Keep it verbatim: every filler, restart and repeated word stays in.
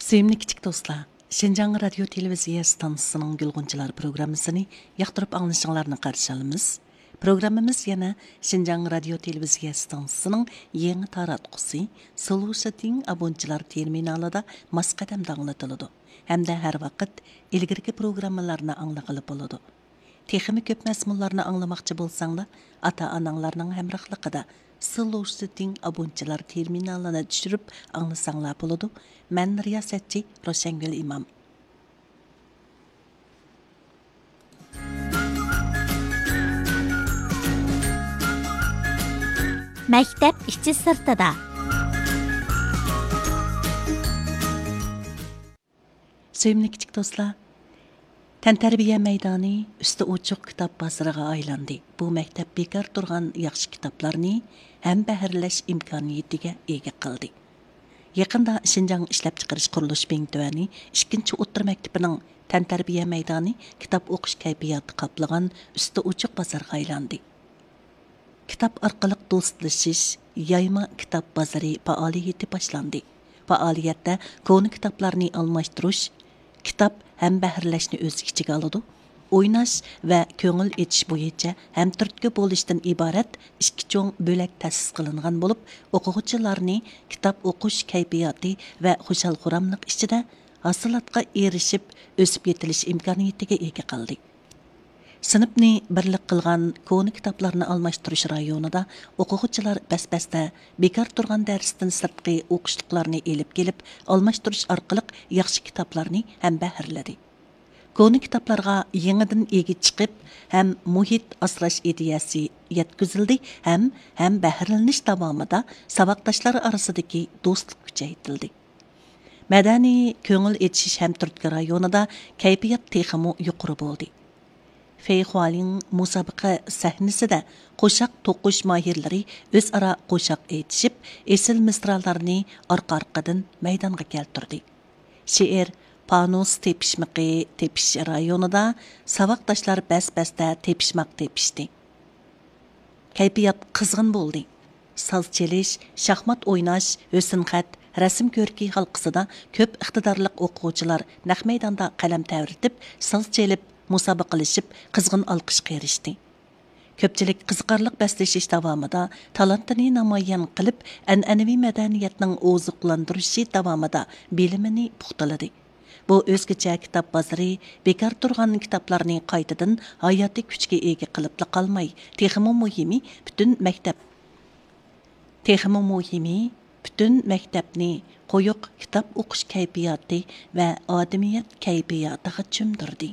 سۆيۈملۈك كىچىك دوستلار، شىنجاڭ رادىيو تېلېۋىزىيە ئىستانسىسىنىڭ گۈلغۇنچىلار پروگراممىسىنى ياقتۇرۇپ ئاڭلىشىڭلارنى قارشى ئالىمىز. پروگراممىمىز يەنە شىنجاڭ رادىيو تېلېۋىزىيە ئىستانسىسىنىڭ يېڭى تاراتقۇسى سلوشىتىڭ ئابونچىلار تېرمىنالىدا ماس قەدەمدە ئاڭلىتىلىدۇ ھەمدە ھەر ۋاقىت ئىلگىرىكى پروگراممىلارنى ئاڭلىغىلى بولىدۇ. تېخىمۇ كۆپ مەزمۇنلارنى ئاڭلىماقچى بولساڭلار، ئاتا-ئاناڭلارنىڭ ھەمراھلىقىدا سلوشىتىڭ ئابونچىلار تېرمىنالىنى چۈشۈرۈپ ئاڭلىساڭلار بولىدۇ. مەن رىياسەتچى روشەنگۈل ئىمام. مەكتەپ ئىچى سىرتىدا. سۆيۈملۈك كىچىك دوستلار، تەنتەربىيە مەيدانى ئۈستى ئوچۇق كىتاب بازىرىغا ئايلاندى. بۇ مەكتەپ بىكار تۇرغان ياخشى كىتابلارنى ھەمبەھىرلەش ئىمكانىيىتىگە ئىگە قىلدى. يېقىندا شىنجاڭ ئىشلەپچىقىرىش قۇرۇلۇش بىڭتۈەنى ئىككىنچى ئوتتۇرا مەكتىپىنىڭ تەنتەربىيە مەيدانى كىتاب ئوقۇش كەيپىياتى قاپلىغان ئۈستى ئوچۇق بازارغا ئايلاندى. كىتاب ئارقىلىق دوستلىشىش، يايما كىتاب بازىرى پائالىيىتى باشلاندى. پائالىيەتتە كونا كىتابلارنى ئالماشتۇرۇش، كىتاب ھەمبەھىرلەشنى ئۆز ئىچىگە ئالىدۇ. ئويناش ۋە كۆڭۈل ئېچىش بويىچە ھەمتۈرتكە بولۇشتىن ئىبارەت ئىككى چوڭ بۆلەك تەسىس قىلىنغان بولۇپ، ئوقۇغۇچىلارنى كىتاب ئوقۇش كەيپىياتى ۋە خۇشال-خۇراملىق ئىچىدە ھاسىلاتقا ئېرىشىپ، ئۆسۈپ يېتىلىش ئىمكانىيىتىگە ئىگە قىلدى. سىنىپنى بىرلىك قىلغان كونا كىتابلارنى ئالماشتۇرۇش رايونىدا ئوقۇغۇچىلار بەس-بەستە بىكار تۇرغان دەرستىن سىرتقى ئوقۇشلۇقلارنى ئېلىپ كېلىپ، ئالماشتۇرۇش ئارقىلىق ياخشى كىتابلارنى ھەمبەھىرلىدى. كونا كىتابلارغا يېڭىدىن ئىگە چىقىپ، ھەم مۇھىت ئاسراش ئىدىيەسى يەتكۈزۈلدى، ھەم ھەمبەھىرلىنىش داۋامىدا ساۋاقداشلار ئارىسىدىكى دوستلۇق كۈچەيتىلدى. مەدەنىي كۆڭۈل ئېچىش ھەمتۈرتكە رايونىدا كەيپىيات تېخىمۇ يۇقىرى بولدى. فېي خۇالىڭ مۇسابىقە سەھنىسىدە قوشاق توقۇش ماھىرلىرى ئۆزئارا قوشاق ئېيتىشىپ، ئېسىل مىسرالارنى ئارقا-ئارقىدىن مەيدانغا كەلتۈردى. شېئىر پانۇس تېپىشمىقى تېپىش رايونىدا ساۋاقداشلار بەس-بەستە تېپىشماق تېپىشتى. كەيپىيات قىزغىن بولدى. ساز چېلىش، شاھمات ئويناش، ھۆسنخەت، رەسىم كۆركى ھالقىسىدا كۆپ ئىقتىدارلىق ئوقۇغۇچىلار نەق مەيداندا قەلەم تەۋرىتىپ، ساز چېلىپ، مۇسابىقىلىشىپ، قىزغىن ئالقىشقا ئېرىشتى. كۆپچىلىك قىزىقارلىق بەسلىشىش داۋامىدا تالانتىنى نامايان قىلىپ، ئەنئەنىۋى مەدەنىيەتنىڭ ئوزۇقلاندۇرۇشى داۋامىدا بىلىمىنى پۇختىلىدى. بۇ ئۆزگىچە كىتاب بازىرى بىكار تۇرغان كىتابلارنى قايتىدىن ھاياتىي كۈچكە ئىگە قىلىپلا قالماي، تېخىمۇ مۇھىمى، پۈتۈن مەكتەپ، تېخىمۇ مۇھىمى، پۈتۈن مەكتەپنى قويۇق كىتاب ئوقۇش كەيپىياتى ۋە ئادىمىيەت كەيپىياتىغا چۆمدۈردى.